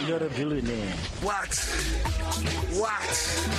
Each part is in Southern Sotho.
You're a billionaire. What? What?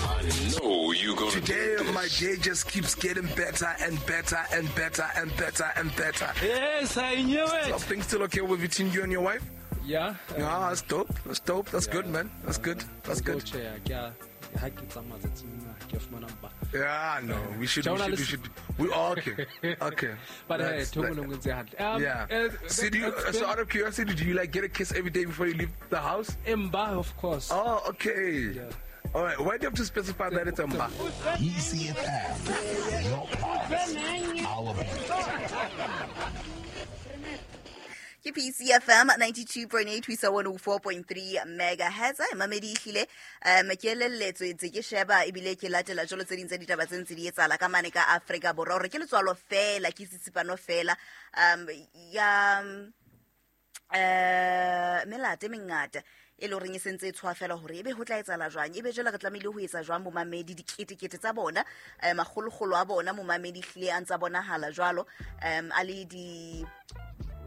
I know you gonna Today dig my this. day just keeps getting better and better and better and better and better. Yes, I knew it. Are things still okay with between you and your wife? Yeah. Yeah, that's dope. That's dope. That's good, man. That's good. That's good. Tjhe, ke a ha ke tsamaya tsatsing lena, ke a fumana mpa. Yeah, no, we should, we should, we should. We okay, okay. But hey, That's- ntho e nngwe le nngwe e ntse hantle. Yeah. So, do you, that's so out of curiosity, do you like get a kiss every day before you leave the house? Mba, of course. Oh, okay. Yeah. All right. Why do you have to specify that it's a mba? ECFM, your pulse, our beat. Ke PCFM 92.8 ho isa 104.3 megahertz. Ai, mamedi ehlile ke elelletswe ntse ke sheba ebile ke latela jwalo tse ding tsa ditaba tse ntse di etsahala ka mane ka Afrika Borwa hore ke letswalo fela, ke tsitsipano fela ya melata e mengata e le horeng e sentse e tshwa fela hore ebe ho tla etsahala jwang, ebe jwale re tlamehile ho etsa jwang momamedi. Diketekete tsa bona makgolokgolo a bona momamedi ehlile a ntsa bonahala jwalo a le di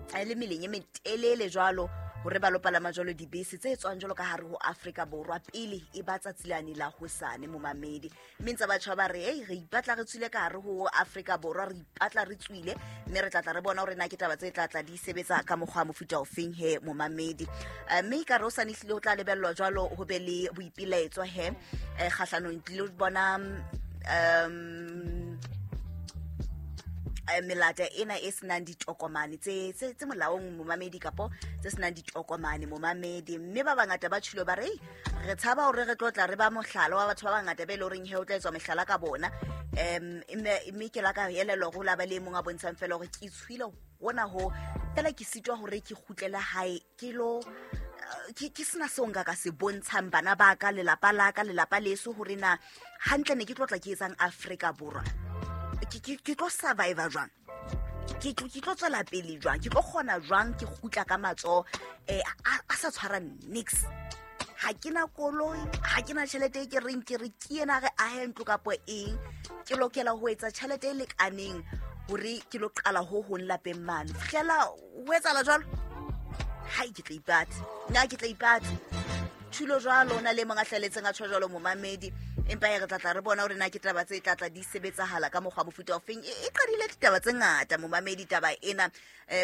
a le meleng e metelele jwalo hore ba lo palama jwalo dibese tse tswang jwalo ka hare ho Afrika Borwa pele e ba tsatsi lane la hosane momamedi. Mme ntse batjha ba re ei re ipatla re tswile ka hare ho Afrika Borwa, re ipatla re tswile, mme re tlatla re bona hore na ke taba tse tlatla di sebetsa ka mokgwa wa mofuta ofeng he momamedi. Mme ka re hosane ehlile ho tla lebellwa jwalo ho be le boipelaetso he kgahlanong le bona melata ena e senang ditokomane tse tse tse molaong momamedi kapo tse senang ditokomane momamedi. Mme ba bangata ba tshilo ba re "Ei, re tshaba hore re tlo tla re ba mohlala wa batho ba bangata be le horeng he o tla etswa mehlala ka bona. Mme ke la ka elellwa hore ho la ba le e mong a bontshang fela hore ke tshwile hona ho fela ke sitwa hore ke kgutlele hae ke lo ke sena seo nka ka se bontshang bana ba ka, lelapa la ka, lelapa leso hore na hantle ne ke tlo tla ke etsang Afrika Borwa, ke tlo survive jwang, ke tlo tswela pele jwang, ke tlo kgona jwang ke kgutla ka matsoho a sa tshwara nix. Ha ke na koloi, ha ke na tjhelete e ke reng ke re ke yena re ahe ntlo kapo eng, ke lokela ho etsa tjhelete e lekaneng hore ke lo qala ho hong lapeng mane. Fihlela ho etsahala jwalo, hai ke tla ipata, nna ke tla ipata. Thulo jwalo, o na le e mong a hlaletseng a tjho jwalo momamedi. Empa e re tlatla re bona hore na ke taba tse tlatla di sebetsahala ka mokgwa wa mofuta ofeng. E qadile ditaba tse ngata momamedi taba ena,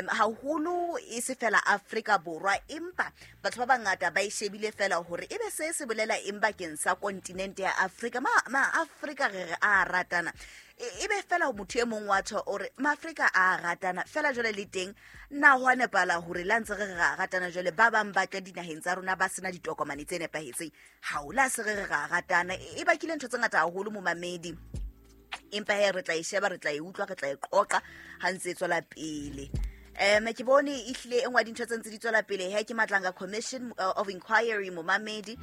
haholo e se fela Afrika Borwa, empa batho ba bangata ba e shebile fela hore ebe se se bolela eng bakeng sa kontinente ya Afrika. Ma Afrika re re a ratana, ebe fela motho e mong wa tjho o re Maafrika a ratana fela jwale le teng na ho a nepahala hore la ntse re re ra ratana jwale ba bang ba tla dinaheng tsa rona ba sena ditokomane tse nepahetseng, ha o la se re re ra ratana. E bakile ntho tse ngata haholo momamedi, empa he re tla e sheba, re tla e utlwa, re tla e qoqa ha ntse e tswela pele. Ke bone ehlile e nngwe ya dintho tse ntse di tswela pele he ke Madlanga Commission of Inquiry momamedi,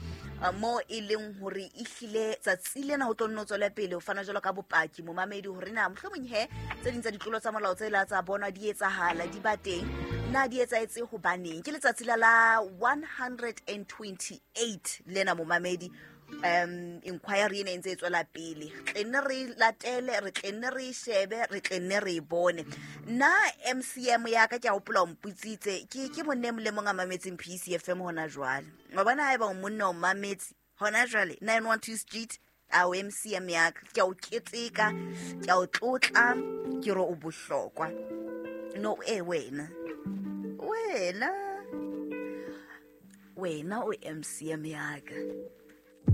mo e leng hore ehlile tsatsi lena ho tlo nno tswela pele ho fana jwalo ka bopaki momamedi hore na mohlomong he tse ding tsa ditlolo tsa molao tse la tsa bonwa di etsahala di ba teng, na di etsahetse hobaneng. Ke letsatsi la 128 lena momamedi, inquiry ena e ntse e tswela pele. Re tle nne re latele, re tle nne re e shebe, re tle nne re e bone. Nna MCM ya ka ke a hopola o mpotsitse, ke monna e mong le mong a mametseng PCFM hona jwale. Wa bona haeba o monna o mametse hona jwale 912 Street, a o MCM ya ka, ke a o keteka, ke a o tlotla, ke re o bohlokwa. No, wena. Wena. Wena o MCM ya ka.